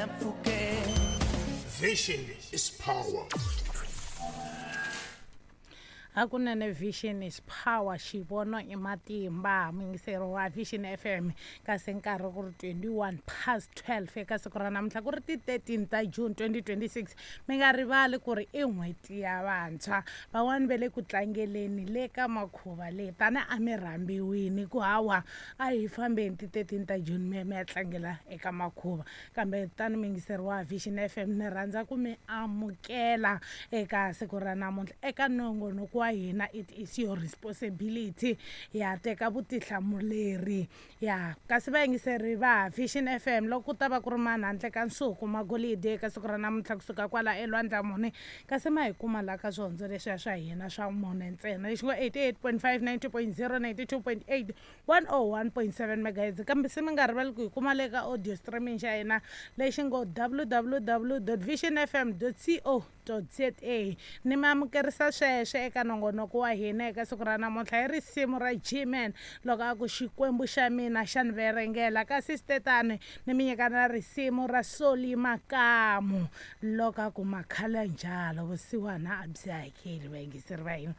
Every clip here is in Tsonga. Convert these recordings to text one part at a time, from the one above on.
ya mpfhukeni. Vision is power. Hakunene vision is power, xivono i matimba. Muyingiseri wa Vision FM, kasi nkarhi ku ri 21 past 12 eka siku ra namuntlha, ku ri ti 13 ta June 2026. Mi nga rivali ku ri i n'hweti ya vantshwa. Van'wani va le ku tlangeleni le ka makhuva leyi, tani a mi rhambiwini ku hawa a hi fambeni ti 13 ta June mi ya mi ya tlangela eka makhuva. Kambe tani muyingiseri wa Vision FM, ni rhandza ku mi amukela eka siku ra namuntlha eka nongonoko wa hina It Is Your Responsibility, ya teka vutihlamuleri ya. Kasi vayingiseri va Vision FM, loko ku ta va ku ri mani handle ka Nsuku Magolide eka siku ra namuntlha kusuka kwala elwandla mune, kasi ma hi kuma laha ka swihondzo leswiya swa hina swa mune ntsena, lexi ngo 88.5, 90.0, 92.8, 101.7 megahertz. Kambe se mi nga rivali ku hi kuma le ka audio streaming xa hina lexi ngo www visionfm co za. Ni mi amukerisa sweswo eka nongonoko wa hina eka siku ra namuntlha hi risimu ra Gman loko a ku Xikwembu xa mina xa ni verengela. Kasi switetani ni mi nyika na risimu ra Soli Makamu loko a ku Makhala njalo vusiwana a byi hakeli. Vayingiseri va hina,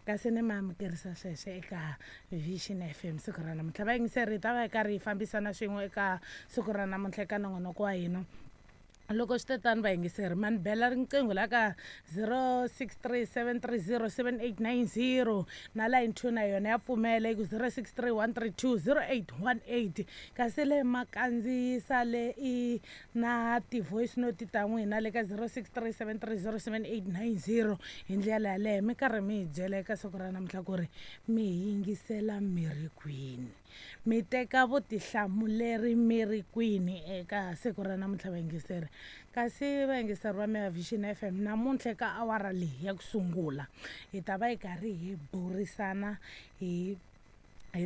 kasi ni mi amukerisa sweswo eka Vision FM siku ra namuntlha. Vayingiseri, hi ta va hi karhi hi fambisana swin'we eka siku ra namuntlha eka nongonoko wa hina. Loko swi tetani vayingiseri, ma ni bela riqingho la ka 063 730 7890, na line 2 na yona ya pfumela yi ku 063 132 0818. Kasi le ma kandziyisa le i na ti-voice note ta n'wina le ka 063 730 7890. Hi ndlela yaleyo mi karhi mi hi byela eka siku ra namuntlha ku ri mi hi yingisela mi ri kwini, mi teka vutihlamuleri mi ri kwini eka siku ra namuntlha vayingiseri. Kasi vayingiseri va Mega Vision FM, namuntlha eka awara leyi ya ku sungula hi ta va hi karhi hi burisana hi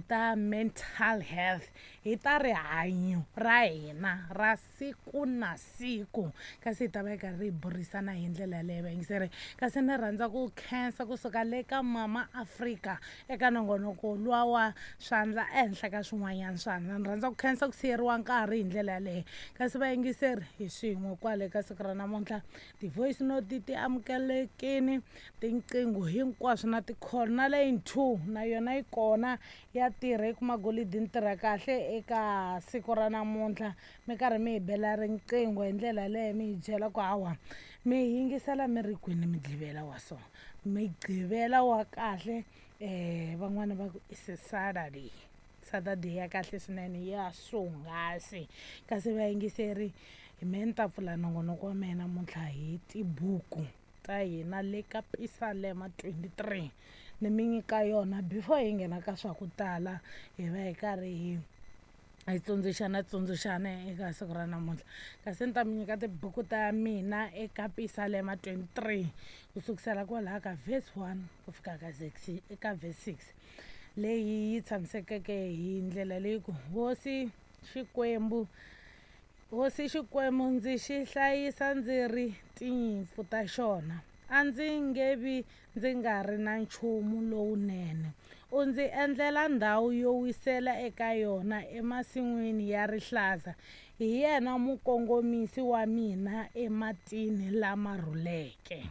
ta mental health, hi ta rihanyo ra hina ra siku na siku. Kasi hi ta va hi karhi hi burisana hi ndlela yaleyo vayingiseri. Kasi ni rhandza ku khensa kusuka le ka Mama Africa eka nongonoko luwa wa swandla ehenhla ka swin'wanyana swandla. Ni rhandza ku khensa ku siyeriwa nkarhi hi ndlela yaleyo. Kasi vayingiseri, hi swin'we kwale ka siku ra namuntlha, ti-voice note ti amukelekini, tinqingho hinkwaswo na ti-call, na line 2 na yona yi kona ya tirha yi kuma golidi ni tirha kahle eka siku ra namuntlha. Mi karhi mi hi bela riqingho hi ndlela yaleyo, mi hi byela ku hawa mi yingisela mi ri kwini Mugqivela wa so, Mugqivela wa kahle. Van'wani va ku i Saturday, Saturday ya kahle swinene ya swonghasi. Kasi vayingiseri, hi me ni ta pfula nongonoko wa mehe namuntlha hi tibuku ta hina le ka Pisalema 23, ni mi nyika yona before hi nghena ka swa ku tala, hi va hi karhi hi tsundzuxana eka siku ra namuntlha. Kasi ni ta mi nyika tibuku ta mina eka Pisalema 23 ku sukisela kwalaha ka verse 1 ku fika ka 6, eka verse 6 leyi yi tshamisekeke hi ndlela leyi ku Hosi Xikwembu, Hosi Xikwembu ndzi xi hlayisa ndzi ri tinyimpfu ta xona, a ndzi nge vi ndzi nga ri na nchumu lowunene. U ndzi endlela ndhawu yo wisela eka yona emasin'wini ya rihlaza, hi yena mukongomisi wa mina ematini lama rhuleke.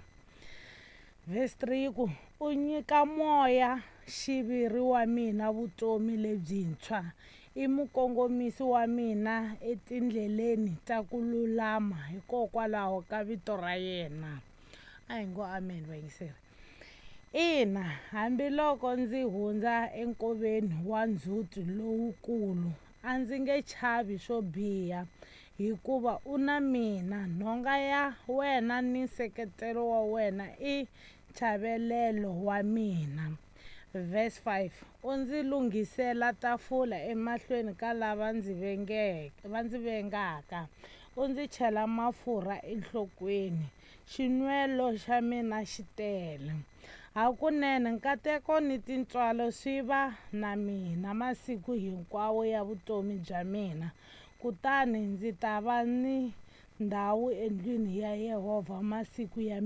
Verse 3 yi ku u nyika moya xiviri wa mina vutomi lebyintshwa, i mukongomisi wa mina etindleleni ta ku lulama hikokwalaho ka vito ra yena. A hi ngo amen vayingiseri. Ina, hambiloko ndzi hundza enkoveni wa ndzhuti lowukulu, a ndzi nge chavi swo biha, hikuva u na mina. Nhonga ya wena ni nseketelo wa wena i nchavelelo wa mina. Verse 5, u ndzi lunghisela tafula emahlweni ka lava ndzi vengeke, va ndzi vengaka, u ndzi chela mafurha enhlokweni, xinwelo xa mina xi tele. Hakunene nkateko ni tintswalo swi va na mina masiku hinkwawo ya vutomi bya mina, kutani ndzi ta va ni ndhawu endlwini ya Yehovha masiku ya